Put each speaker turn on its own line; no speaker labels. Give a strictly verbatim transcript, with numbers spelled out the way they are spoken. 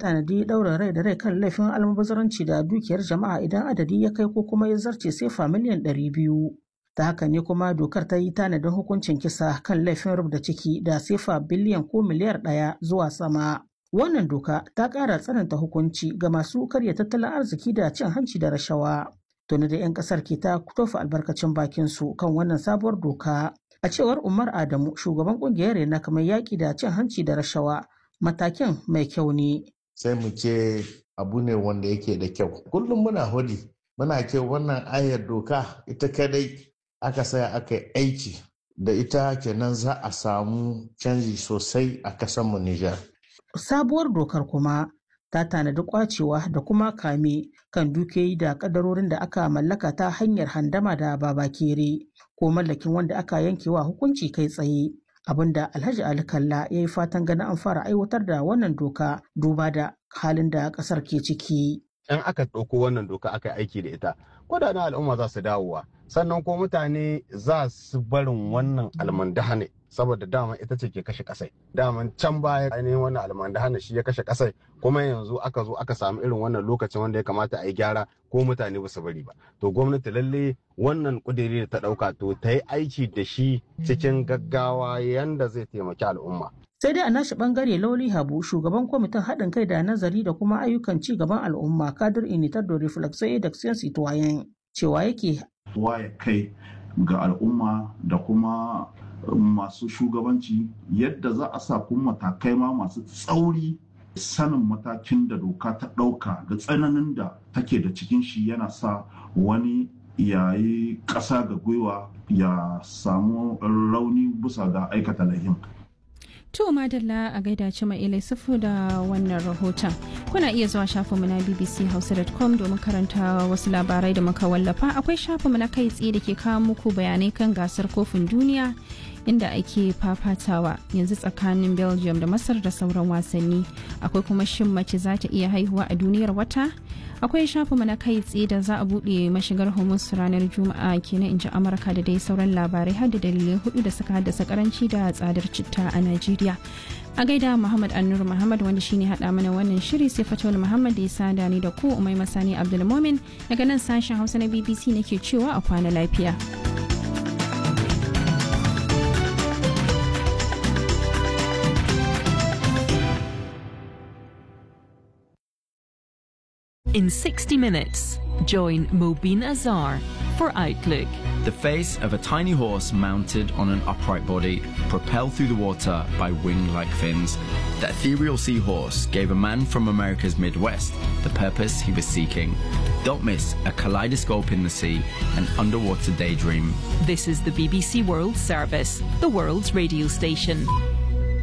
tanadi ɗaurin rai da rai kan laifin almubazaranci da dukiyar jama'a idan adadi ya kai ko kuma ya zarce sefa miliyan ɗari biyu. Ta haka ne kuma dokar ta yi tanadin hukuncin kisa kan laifin rubda ciki da sefa biliyan ko miliyar ɗaya zuwa sama. Wannan doka ta ƙara tsananta hukunci ga masu karya tattalin arziki da cin hanci da rashawa. Tuni da 'yan ƙasar ke ta tofa albarkacin bakin su kan wannan sabuwar doka. A cewar Umar Adamu, shugaban ƙungiyar Rena kamar yaƙi da cin hanci da rashawa, matakin mai kyau ne.
Sai mu ce abu ne wanda yake da kyau. Kullum muna hudi, muna ce wannan ayar doka ita kadai aka saya aka yi aiki da ita kenan za a samu canji sosai a kasanmu Nijar.
Sabuwar dokar kuma ta tanadi kwacewa da kuma kame kan dukiyoyi da kadarorin da aka mallaka ta hanyar handama da babakere ko mallakin wanda aka yankewa hukunci kai tsaye. Abinda Alhaji Ali Kalla ya yi fatan ganin an fara aiwatar da wannan doka duba da halin da kasar ke ciki.
In aka ɗauko wannan doka aka yi aiki da ita, kudaden al'umma za su dawowa, sannan ko mutane za su barin wannan almandahane saboda dama ita ce ke kashe kasai. Daman can baya ainihin wannan almandahane shi ya kashe kasai, kuma yanzu aka zo aka samu irin wannan lokacin wanda ya kamata a yi gyara ko mutane ba su bari ba. To gwamnati lalle wannan kudiri da ta ɗauka to ta yi aiki da shi cikin gaggawa yanda zai taimaki al'umma.
Sai dai a nashi bangare Lauli Habu, shugaban kwamitin haɗin kai da nazari da kuma ayyukan ci gaban al'umma kadir initar da reflexo da citoyen, cewa yake
waye kai ga al'umma da kuma masu shugabanci yadda za a sa kuma matakai ma masu tsauri. Sanin matakin da doka ta ɗauka da tsananin da take da cikin shi yana sa wani yayi ƙasa ga gwiwa ya samu rauni bisa ga aikata lahin.
To madalla a gaida Cima Ilai Sufu da wannan rahoton. Kuna iya zuwa shafinmu na b b c hausa dot com domin karanta wasu labarai da muka wallafa. Akwai shafinmu na kai tsaye da ke kawo muku bayanai kan gasar kofin duniya inda ake fafatawa yanzu tsakanin Belgium da Masar da sauran wasanni. Akwai kuma shin mace za ta iya haihuwa a duniyar wata? Akwai shafinmu na kai tsaye da za a buɗe mashigar Hormuz ranar Juma'a kenan in ji Amurka da dai sauran labarai har da dalilai hudu da suka haddasa karanci da tsadar citta a Najeriya. A gaida Muhammad Annur Muhammad wanda shine hada mana wannan shiri, sai Fatawul Muhammad da ya sada ni da ku. Umai Masani Abdulmomin daga nan sashen Hausa na B B C nake cewa a kwana lafiya.
In sixty minutes, join Mobeen Azar for Outlook.
The face of a tiny horse mounted on an upright body, propelled through the water by wing like fins. The ethereal seahorse gave a man from America's Midwest the purpose he was seeking. Don't miss a kaleidoscope in the sea, an underwater daydream.
This is the B B C World Service, the world's radio station.